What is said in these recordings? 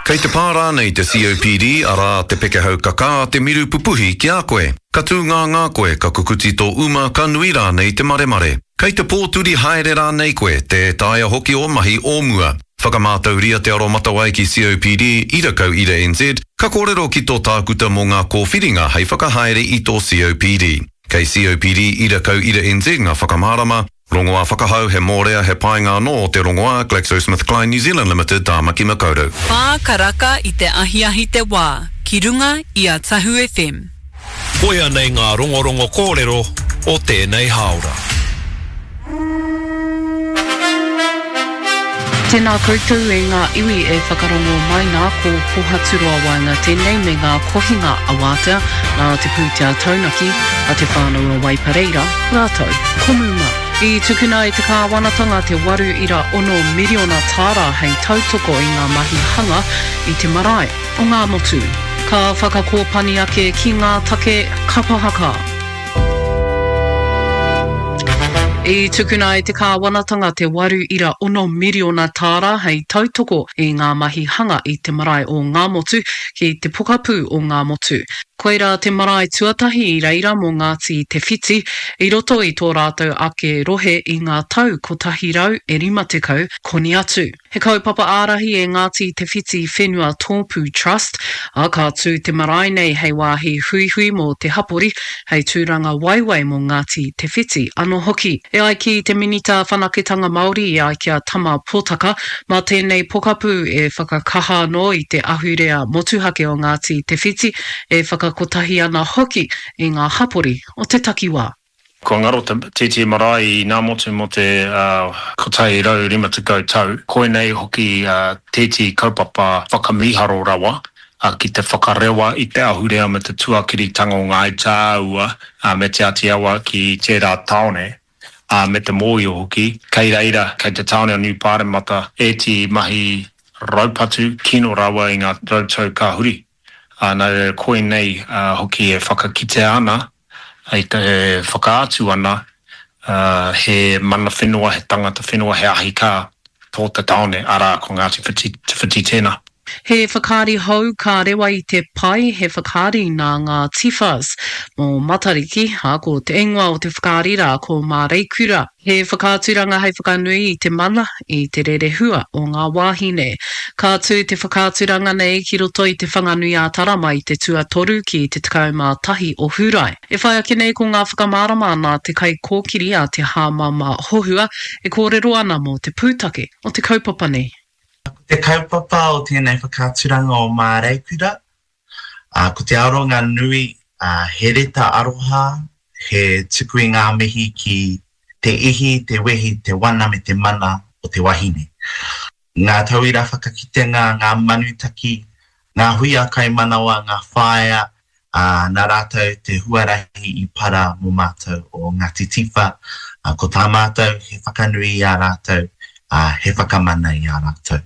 Kei te pā rānei te COPD, arā, te pekehau kakā, te miru pupuhi ki a koe? Ka tūngāngā koe, ka kukuti tō uma, ka nui rānei te maremare? Kei te pōturi haere rānei koe, tē taea hoki ō mahi o mua? Whakamātauria te aromatawai ki COPD, ira kau ira NZ, ka kōrero ki tō tākuta mō ngā kōwhiringa hei whakahaere i tō COPD. Kei COPD ira kau ira NZ ngā whakamārama, Rongoā whakahau, he mōrea, he painga anō o te rongoā, GlaxoSmithKline New Zealand Limited, Tāmaki Makaurau. Whā karaka i te ahiahi te wā, ki runga i a Tahu FM. Koia nei ngā rongorongo kōrero o tēnei hāora. Tēnā koutou e ngā iwi e whakarongo mai nā, ko Pohaturoa Waenga tēnei me ngā kohinga awātea nā te pūtea taunaki a Te Whānau o Waipareira rātou ko Muma. I tukuna e te kāwanatanga te 8.6 miriona tāra hei tautoko i ngā mahi hanga i te marae o Ngāmotu. Ka whakakōpani ake ki ngā take kapa haka. I tukuna e te kāwanatanga te 8.6 miriona tāra hei tautoko i ngā mahi hanga i te marae o Ngāmotu ki te pokapū o Ngāmotu. Koirā te marae tuatahi i reira mō Ngāti Te Whiti i roto i tō rātou ake rohe i ngā tau 150 koni atu. He kaupapa ārahi e Ngāti Te Whiti Whenua Tōpū Trust, ā, ka tū te marae nei hei wāhi huihui mō te hapori, hei tūranga waiwai mō Ngāti Te Whiti anō hoki. E ai ki te Minita Whanaketanga Māori i ai ki a Tama Potaka, mā tēnei pokapū e whakakaha anō i te ahurea motuhake o Ngāti Te Whiti, e whakakotahi ana hoki i ngā hapori o te takiwā. Kua ngaro te tītī marae i Ngāmotu mō te 150 tau. Koinei hoki tētehi kaupapa whakamīharo rawa ki te whakarewa i te ahurea me te tuakiritanga o Ngāi Tāua me Te Āti Awa ki tērā tāone, ā, me te mōhio hoki, kei reira, kei te tāone o Niu Pāremata ētehi mahi raupatu kino rawa i ngā rautau ka huri. Ā, nā reira koinei hoki e whakakitea ana, e whakaatu ana he mana whenua, he tangata whenua, he ahi kā tō te tāone, arā, ko Ngāti Whiti, Te Whiti tēnā. He whakaari hou ka rewa i te pae, he whakaari nā ngā Tifas mō Matariki, ā, ko te ingoa o te whakaari rā ko Māreikura. He whakaaturanga hei whakanui i te mana, i te rerehua o ngā wāhine. Ka tū te whakaaturanga nei ki roto i Te Whanganui-ā-Tara mai i te tuatoru ki te 11 o Hūrae. E whai ake nei ko ngā whakamārama nā te kaikōkiri a Te Hāmama Hohua e kōrero ana mō te pūtake o te kaupapa nei. Ko te kaupapa o tēnei whakaaturanga o Māreikura, ko te aronga nui he reta aroha, he tuku i ngā mihi ki te ihi, te wehi, te wana me te mana o te wahine. Ngā tauira whakakitenga, ngā manutaki, ngā huia kaimanawa, ngā whaea, ā, nā rātou te huarahi i para mō mātou o Ngāti Tiwha. Ko tā mātou he whakanui i a rātou, ā, he whakamana i a rātou.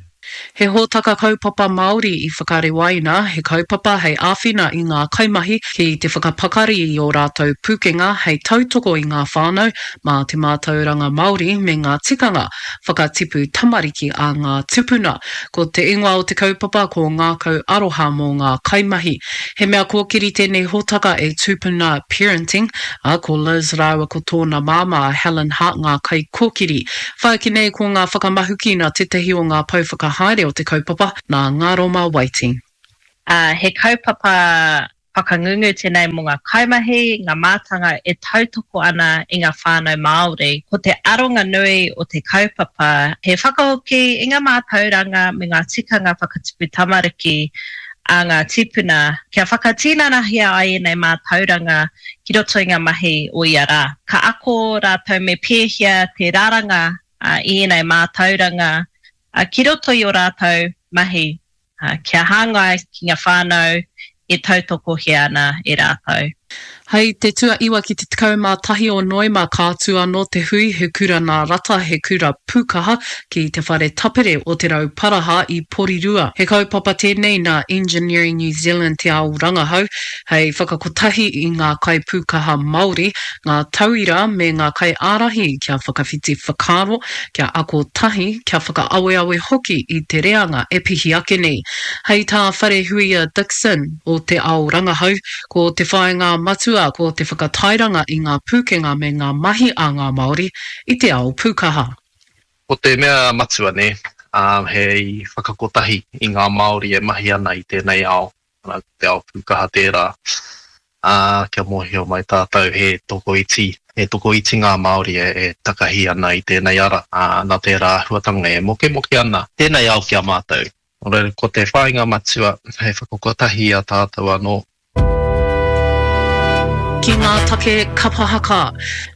He hōtaka kaupapa Māori i whakarewaina, he kaupapa hei āwhina i ngā kaimahi ki te whakapakari i ō rātou pūkenga hei tautoko i ngā whānau mā te mātauranga Māori me ngā tikanga whakatipu tamariki a ngā tupuna. Ko te ingoa o te kaupapa ko Ngākau Aroha mō ngā kaimahi. He mea kōkiri tēnei hōtaka e Tupuna Parenting, ā, ko Liz rāua ko tōna māmā a Helen Hart ngā kaikōkiri. Whāki nei ko ngā whakamahuki nā tētahi o ngā pou whakahaere o te kaupapa, nā Ngaroma Waiti. Ā, he kaupapa whakangungu tēnei mō ngā kaimahi, ngā mātanga e tautoko ana i ngā whānau Māori. Ko te aronga nui o te kaupapa he whakahoki i ngā mātauranga me ngā tikanga whakatupu tamariki a ngā tīpuna kia whakatinanahia ai ēnei mātauranga ki roto i ngā mahi o ia rā. Ka ako rātou me pēhea te raranga i ēnei mātauranga ki roto i ō rātou mahi kia hāngai ki ngā whānau e tautokohia ana e rātou. Hei te tuaiwa ki te 11 o Noema ka tū anō te hui He Kura Nā Rata, He Kura Pūkaha ki te Whare Tapere o Te Rauparaha i Porirua. He kaupapa tēnei nā Engineering New Zealand Te Ao Rangahau hei whakakotahi i ngā kaipūkaha Māori, ngā tauira me ngā kaiārahi kia whakawhiti whakaaro, kia ako tahi, kia whakaaweawe hoki i te reanga e pihi ake nei. Hei tā Wharehuia Dixon o Te Ao Rangahau, Ko te whāinga matua ko te whakatairanga i ngā pūkenga me ngā mahi a ngā Māori i te ao pūkaha. Ko te mea matua nē, he whakakotahi i ngā Māori e mahi ana i tēnei ao, arā, ko te ao pūkaha tērā, ā, kia mōhio mai tātou he tokoiti, he tokoiti ngā Māori e takahi ana i tēnei ara, ā, nā tērā āhuatanga e mokemoke ana tēnei ao ki a mātou. Nō reira, ko te whāinga matua hei whakakotahi i a tātou anō. Ki ngā take kapa haka.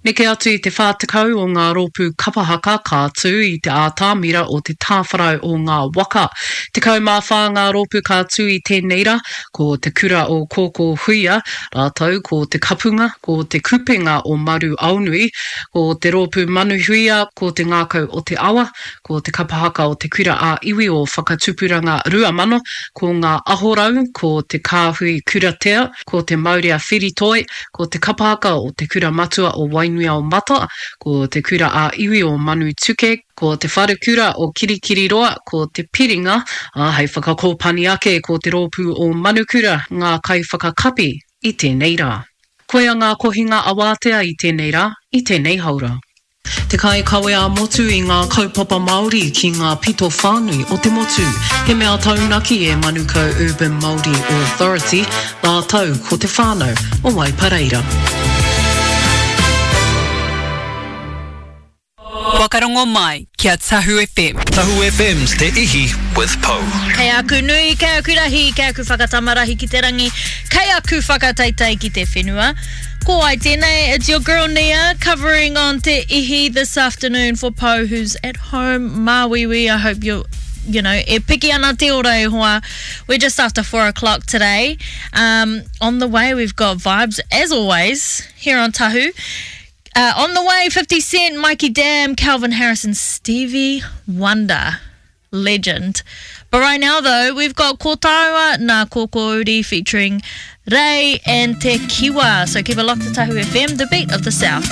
Neke atu i te 40 o ngā rōpū kapa haka ka tū i te ātamira o te tāwharau o ngā waka. 14 ngā rōpū ka tū i tēnei rā, ko Te Kura o Kōkō Huia, rātou ko Te Kapunga, ko Te Kupenga o Maru Aonui, ko Te Rōpū Manuhuia, ko Te Ngākau o Te Awa, Ko te kapa haka o Te Kura ā Iwi o Whakatupuranga 2000, ko Ngā Ahorau, ko Te Kāhui Kuratea, ko Te Maurea Whiritoi, ko te kapa haka o Te Kura Matua o Wainuiaomata, ko Te Kura ā Iwi o Manutuke, ko Te Wharekura o Kirikiriroa, ko Te Piringa, ā, hei whakakōpani ake ko Te Rōpū o Manukura ngā kaiwhakakapi i tēnei rā. Koia ngā kohinga awātea i tēnei rā, i tēnei haora. Te kaikawe ā-motu i ngā kaupapa Māori ki ngā pito whānui o te motu. He mea taunaki e Manukau Urban Māori Authority rātou ko te whānau o Waipareira. Whakarongo mai ki a Tahu FM. Tahu FM's Te Ihi with Pou. Kei aku nui, kei aku rahi, kei aku whakatamarahi ki te rangi, kei aku whakateitei ki te whenua. Ko ai tēnei, it's your girl Nia covering on Te Ihi this afternoon for Pou who's at home. Māuiui, I hope you you know, e piki ana te ora e hoa. We're just after four o'clock today. Um, on the way, we've got vibes, as always, here on Tahu. Uh, on the way, 50 Cent, Mikey Dam, Calvin Harris and Stevie Wonder. Legend. But right now though, we've got Ko Tāua Nā Kōkōuri featuring Rei and Te Kiwa. So keep it locked to Tahu FM, the beat of the South.